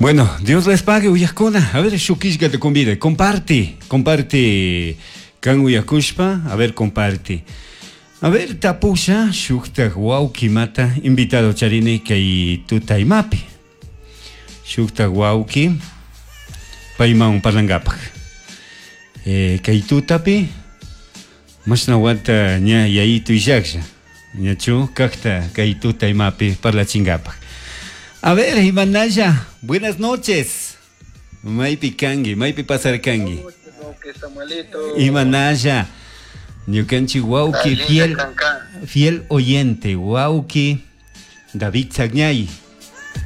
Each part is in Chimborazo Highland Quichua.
Bueno, Dios les pague, uyajkuna. A ver, shuk te convide. Comparte, comparte. Kan uyakushpa, a ver, comparte. A ver, tapusha, shuktak wawki mata, invitado charini kay tutaymapi. Shuktak wawki, payman parlangapaj. Kay tutapi, mashna wata ña yayitu illaklla. Ñachu kakta kay tutaymapi parlachingapaj. A ver, Imanaya, buenas noches. Maypi kanki, maypi pasarkanki. Imanaya, ñukanchik wawki fiel, fiel oyente, wawki David Sagñay.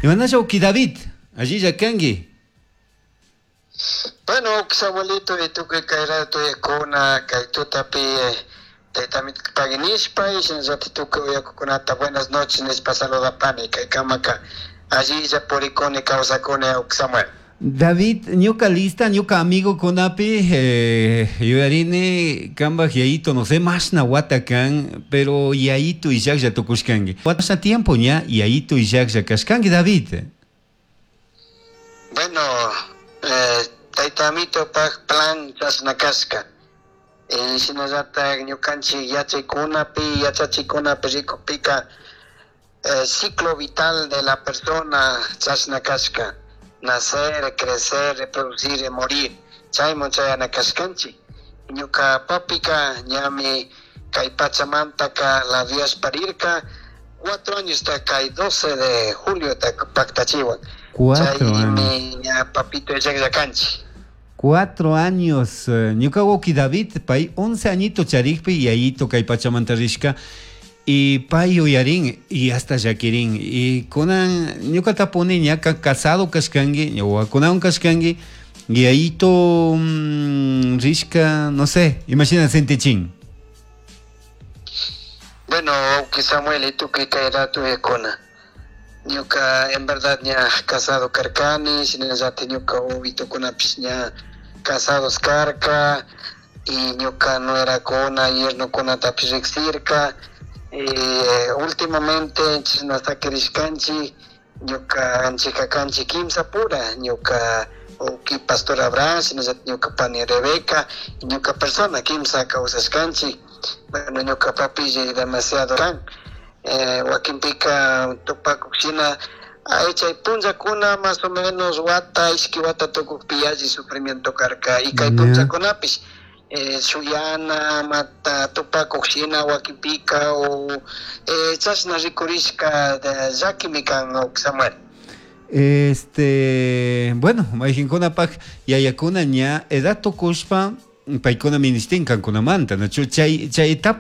Imanaya, wawki David, allilla kanki. Bueno, Samuelito, y tukuy kay rato uyakuna, kay tutapi taytamita pagui nishpa, y shinallati tukuy uyakukunata buenas noches nishpa saludapani, kay kamaka allilla purikuni kawsakuni Samuel. David, ñuka lista, ñuka amigo kunapi, yuyarini kambaj yayito, no sé, mashna wata kan, pero yayito illaklla tukushkanki. Wata tiempo ña yayito illaklla kashkanki, David. Bueno, tayta amitopaj plan chashna kashka. Shinallatak ñukanchik yachaykunapi, yachachikunapi rikukpika, ciclo vital de la persona chashna kashka. Nacer, crecer, reproducir y morir. Chayman chayana kashkanchik. Ñuka papika ñami kay pachamantaka la parirka 4 años ta kay 12 de julio ta paktachiwan. 4 Chaymi años. ña papito llaklla kanchik. 4 años. Ñuka wawki David, pay 11 añito charikpi yayito kay pachamanta rishka. Y pay yuyarin y hasta llakirin. Y kunan ñuka tapuni ñaka casado kashkanki, wawakunawan kashkanki, yayito, rishka, no sé, imagina sentichin. Bueno, wawki Samuel, y tukuy kay rato uyakuna. Ñuka en verdad ña casado karkani, shinallati ñuka wawitukunapish ña casados karka, y ñuka nuerakuna, yernokunatapish riksirka. Últimamente chashna sakirishkanchik, ñuka anchika kanchik kimsa pura, ñuka wawki Pastor Abraham, shinallati ñuka pani Rebeca, y ñuka persona kimsa kawsashkanchik. Bueno, ñuka papilli demasiado kan. Wakinpika tupakuk shina, ay, chay punllakuna más o menos wata, ishki wata tukukpi yalli sufrimiento karka. Y kay punllakunapish, shuyana, mata, tupakuk shina wakinpika, o chashna rikurishka llakimi kan, Samuel. Este, bueno, mayqinkunapaj yayakuna ña edad tukushpa paykuna ministin kankunamanta, nachu chay etapa.